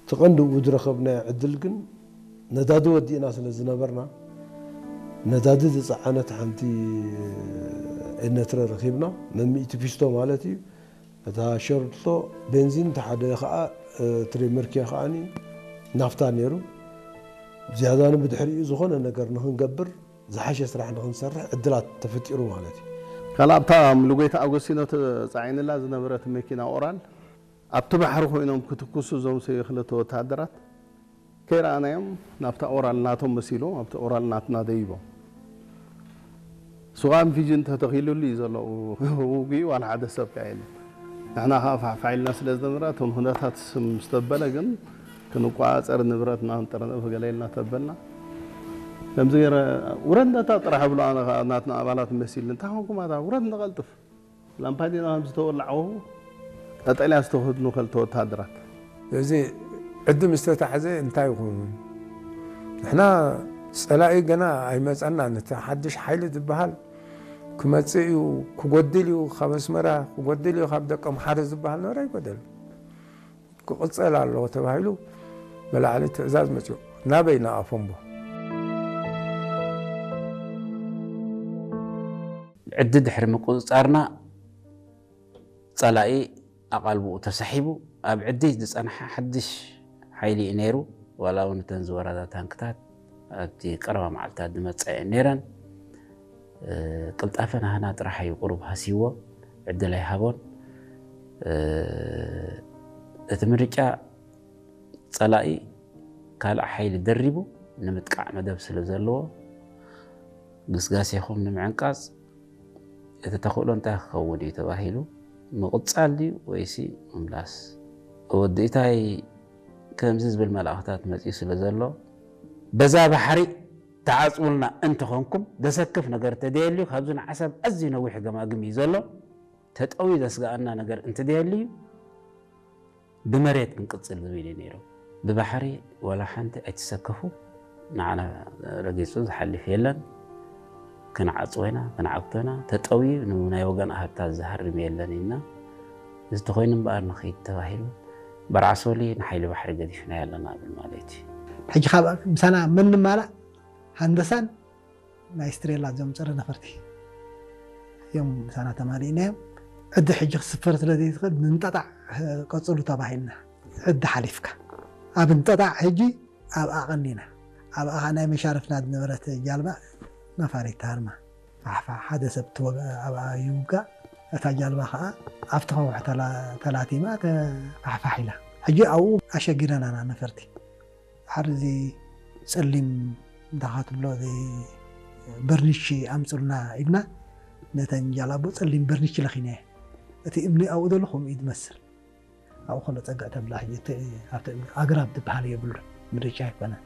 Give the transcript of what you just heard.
እቲ ቀንዲ ብኡ ዝረኸብናዮ ዕድል ግን ነዳዲ ወዲእና ስለ ዝነበርና፣ ነዳዲ ዝጸዓነት ሓንቲ ኤነትረ ረኺብና፣ መሚእቲ ፊስቶ ማለት እዩ። እታ ሸርቶ ቤንዚን፣ እቲ ሓደ ኸኣ፣ እ፣ ትሬመርኪያ ኸኣኒ ናፍታ ነይሩ። ዝያዳ ንብድሕሪኡ ዝኾነ ነገር ንኽንገብር፣ ዝሓሸ ስራሕ ንኽንሰርሕ ዕድላት ተፈጢሩ ማለት እዩ። ካልእ ኣብታ ምሉጎይታ ኣጎስቲኖ ተጻዒንላ ዝነበረት መኪና ኦራል ኣብቲ ባሕሪ ኮይኖም ክትኩሱ እዞም ሰብዩ ክልተ ወተሃደራት ከይረኣናዮም ናብታ ኦራል ናቶም መሲሎም ኣብቲ ኦራል ናትና ደይቦም። ሱቓን ፊጅን ተተኺሉሉ እዩ ዘሎ። ውግኡ ዋላ ሓደ ሰብ ከኣ የለን። ንሕና ከኣ ፋሕፋሕ ኢልና ስለ ዝነበረ እቶም ኩነታት ምስ ተበለ ግን ክንቋጸር ንብረትና ክንጥርንፍ ገለ ኢልና ተበልና። ከምዚ ገይረ ውረድ ነታ ጥራሕ ብሎ ኣነ ከኣ ናትና ኣባላት መሲልኒ እንታይ ኮንኩም ኣታ ውረድ ንቐልጥፍ። ላምፓዲና ከም ዝተወላዕዎ ቀጠልያ ዝተኸድኑ ክልተ ወተሃደራት። እዚ ዕዲ ምስ ተታሕዘ እንታይ ይኹን? ንሕና ጸላኢ ገና ኣይመጸናን። እቲ ሓድሽ ሓይሊ ዝበሃል ክመጽእ እዩ፣ ክጎድል እዩ፣ ካብ ኣስመራ ክጎድል እዩ፣ ካብ ደቀምሓረ ዝበሃል ነበረ ኣይጎደልን። ክቕጸል ኣለዎ ተባሂሉ ብላዕሊ ትእዛዝ መጽኡ። ናበይ? ንኣፎምቦ። ዕዲ ድሕሪ ምቁጽጻርና ጸላኢ ኣቓልቦኡ ተሳሒቡ ኣብ ዕዲ ዝጸንሐ ሓድሽ ሓይሊ እዩ ነይሩ። ዋላ እውን እተን ዝወረዳ ታንክታት ኣብቲ ቀረባ መዓልታት ዝመጻ እየን ነይረን። እ፣ ቅልጣፈ ናህና ጥራሕ እዩ ቁሩብ ሃስይዎ፣ ዕድል ኣይሃቦን። እ፣ እቲ ምርጫ ጸላኢ ካልእ ሓይሊ ደሪቡ ንምጥቃዕ መደብ ስለ ዘለዎ፣ ግስጋሴኹም ንምዕንቃጽ እቲ ተኽእሎ እንታይ ክኸውን እዩ ተባሂሉ፣ ምቕጻል ድዩ ወይሲ ምምላስ? ወዲ ኢታይ ከምዚ ዝብል መልእኽታት መጺኡ ስለ ዘሎ፣ በዛ ባሕሪ ተዓጽውልና እንተኾንኩም፣ ዘሰክፍ ነገር ተደየልዩ፣ ካብዚ ንዓሰብ ኣዝዩ ነዊሕ ገማግም እዩ ዘሎ። ተጠውዩ ዘስግኣና ነገር እንተደየልዩ፣ ብመሬት ክንቅጽል ዝብል እዩ ነይሩ። ብባሕሪ ዋላ ሓንቲ ኣይትሰከፉ፣ ንዓና ረጊጹ ዝሓልፍ የለን። ክንዓጽዎ ኢና፣ ክንዓግቶ ኢና። ተጠውዩ ንናይ ወገን ኣሃብታት ዝሃርም የለን ኢልና፣ እዚ ተኾይኑ እምበኣር ንኽይድ ተባሂሉ፣ በርዓሶሊ ንሓይሊ ባሕሪ ገዲፍናዮ ኣለና ብል ማለት እዩ። ሕጂ ካብ ምሳና መን ንማላእ ሃንደሳን ናይ ስትሬላ እዞም ጸረ ነፈርቲ እዮም ምሳና ተማሊእናዮም። ዕዲ ሕጂ ክስፈር ስለ ዘይትኽእል ንንጠጣዕ ቀጽሉ ተባሂልና። ዕዲ ሓሊፍካ ኣብ እንጠጣዕ ሕጂ ኣብኣ ቀኒና። ኣብኣ ኸኣ ናይ መሻርፍና ዝነበረት ጃልባ ነፋሪት ሃርማ ፋሕፋሕ ሓደ ሰብ ትወግ-፣ ኣብኣ ይውጋእ። እታ ጃልባ ኸኣ ኣብቲ ከውሒ ተላ-፣ ተላቲማ ተፋሕፋሕ ኢላ። ሕጂ ኣብኡ ኣሸጊረናና ነፈርቲ። ድሓር እዚ ጸሊም እንታይ ትብሎ፣ እዚ በርኒሽ ኣምጽልና ኢልና ነተን ጃላቦ ጸሊም በርኒሽ ለኺናዮ። እቲ እምኒ ኣብኡ ዘሎ ከምኡ እዩ ዝመስል። ኣብኡ ከሎ ጸግዕ ተብላ ሕጂ እቲ ኣብቲ እምኒ ኣግራብ ዝበሃል የብሉን፣ ምርጫ ኣይኮነን።